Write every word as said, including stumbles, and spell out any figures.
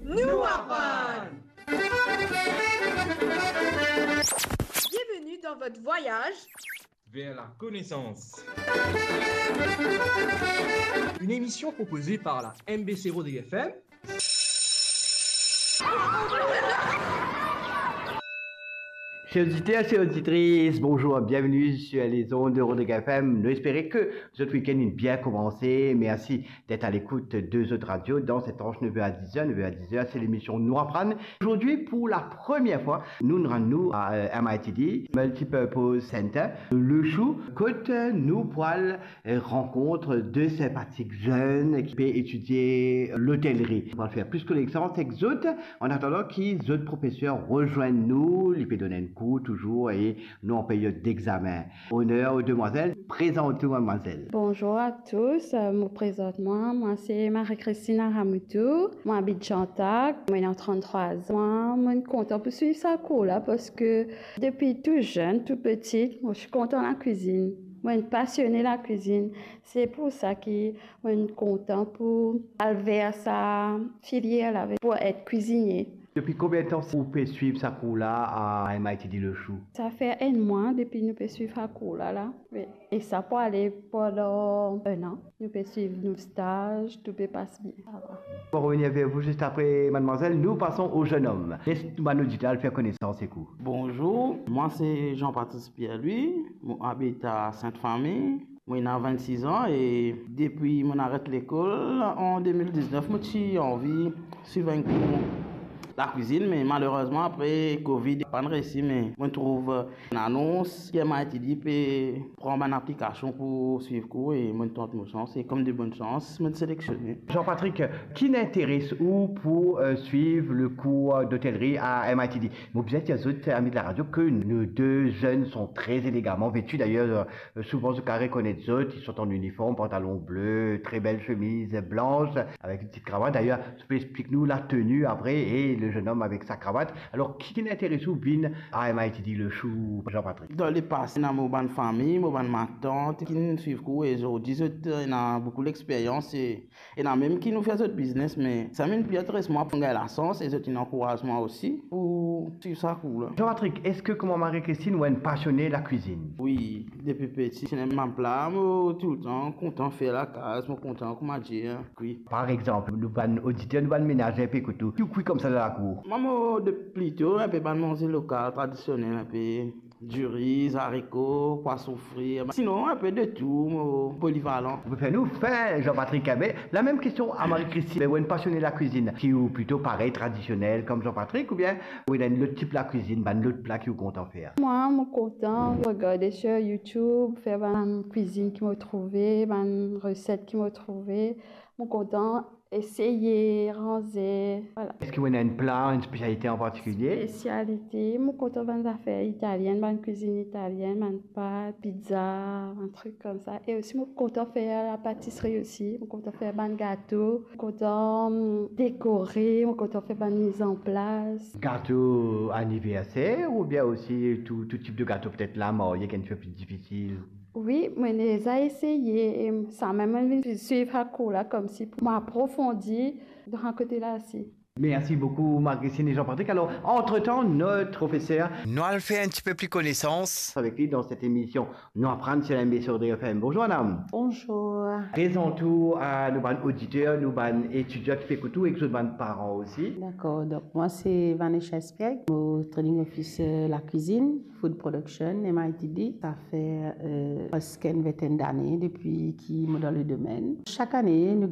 Nou aprann. Bienvenue dans votre voyage vers la connaissance. Une émission proposée par la M B C Rodrigues F M. Chers auditeurs, chères auditrices, bonjour, bienvenue sur les ondes de Rodrigues F M. Nou espere ke zot week-end inn bien koumanse. Mersi d'être à l'écoute de zot radio dans cette tranche neuf heures à dix heures. Neuf heures à dix heures, c'est l'émission Nou Aprann. Aujourd'hui, pour la première fois, nou rann nou a, euh, M I T D, Multipurpose Center, Le Chou, kot nou pou al, euh, rankont de sinpatik zenn ki pe etidie lotelri. Nou pou al fer plis konesans ek zot, an atandan ki zot profeser rezwenn nou, li pe donn enn kour touzour e nou an period d'examen. Honneur aux demoiselles, présentez-vous, mademoiselle. Bonjour à tous, euh, mo prezant mwa, mwa se Marie-Christine Aramoutou, mo abit Chantac, mo ena trant-trwa zan. Mwa, mo kontan pou swiv sa kour la, parski depi tou zenn, tou piti, mo ti kontan lakwizinn. Mo inn pasione lakwizinn. Se pou sa ki mo inn kontan pou al ver sa filier la, pou et kwizinie. Depi konbien tan ou pe swiv sa kour la a M I T D Le Chou? Sa fer enn mwa depi nou pe swiv sa kour la, la. Wi. E sa pou ale pandan enn an. Nou pe swiv nou staz, tou pe pas bien. Sa va. On va revenir vers vous juste après, mademoiselle. Nous passons au jeune homme. Les bann oditer al fer konesans ek ou. Bonjour, mwa se Jean-Patrice Pierre-Louis, mo abit a Sainte-Famille. Mo ena vennsis an e depi mo aret lekol an de mil diznef, mo ti anvi swiv enn kour lakwizinn, me malerezman apre Covid, pa'nn resi, me mo trouv enn anons ki M I T D pe pran bann aplikasion pou swiv kour e mo tant mo sans e kom de bonn sans, mo selektione. Jean-Patrick, ki inn interes ou pou, euh, swiv le kour d'otelri a M I T D? Mo bizin dir zot, ami de la radio, ke nos deux jeunes sont très élégamment vêtus. D'ailleurs, euh, souvan zot kav rekonet zot, ils sont en uniforme, pantalon bleu, très belle chemise blanche, avec une petite cravate. D'ailleurs, tu peux expliquer nous la tenue après et le jeune homme avec sa cravate. Alors, ki, ki inn interes ou vinn a M I T D Le Chou, Jean-Patrick? Dan lepase, ena mo bann fami, mo bann matant ki'nn swiv kour e zordi zot ena boukou lexperyans e ena mem ki nou fer zot biznes, me samem pli interes mwa pou gagn lasans e zot inn ankouraz mwa osi pou swiv sa kour la. Jean-Patrick, eski kouma Marie-Christine, ou enn pasione lakwizinn? Wi, depi piti, ti ena bann pla mo toultan kontan fer lakaz, mo kontan kouma dir, kwi. Par exanp, nou bann oditer, nou bann menaze pe ekout ou, ki ou kwi koumsa dan lakour? Mwa, mo de plito inpe bann manze lokal, tradisionel, inpe diri, zariko, pwason fri, sinon inpe de tou, mo polivalan. Ou pe fer nou fin, Jean-Patrick. Enben, la mem kestion a Marie-Christine. Ou enn pasione lakwizinn, ki ou plito parey tradisionel kom Jean-Patrick, oubien ou ena enn lot tip lakwizinn, bann lot pla ki ou kontan fer? Mwa, mo kontan regarde sur YouTube, fer bann kwizinn ki mo trouve, bann reset ki mo trouve. Mo kontan eseye, ranze, vwala. Eski ou ena enn pla, enn spesialite an partikilie? Spesialite, mo kontan bann zafer italienn, bann kwizinn italienn, bann pat, pizza, bann trik koumsa. E osi, mo kontan fer lapatisri osi. Mo kontan fer bann gato, mo kontan, mm, dekore, mo kontan fer bann mizanplas. Gato aniverser oubien osi tou, tou tip de gato, petet la marye, ki enn tipe pli difisil? Wi, mo ena deza eseye, e samem mo vinn swiv sa kour la koumsi pou mo aprofondi dan sa kote la osi. Merci beaucoup, Marie-Christine et Jean-Patrick. Alors, entre-temps, notre professeur... Nou al fer enn tipe pli konesans avek li dan set emision Nou Aprann sur M B C Rodrigues F M. Bonjour, madame. Bonjour. Prezant ou a nou bann oditer, nou bann etidian ki pe ekout ou, ek zot bann paran osi. Dakor, donk mwa se Vanessa Espiègle, mo training officer lakwizinn, food production, M I T D. Sa fer, euh, preske enn vintenn dane depi ki mo dan le domenn. Sak ane, nou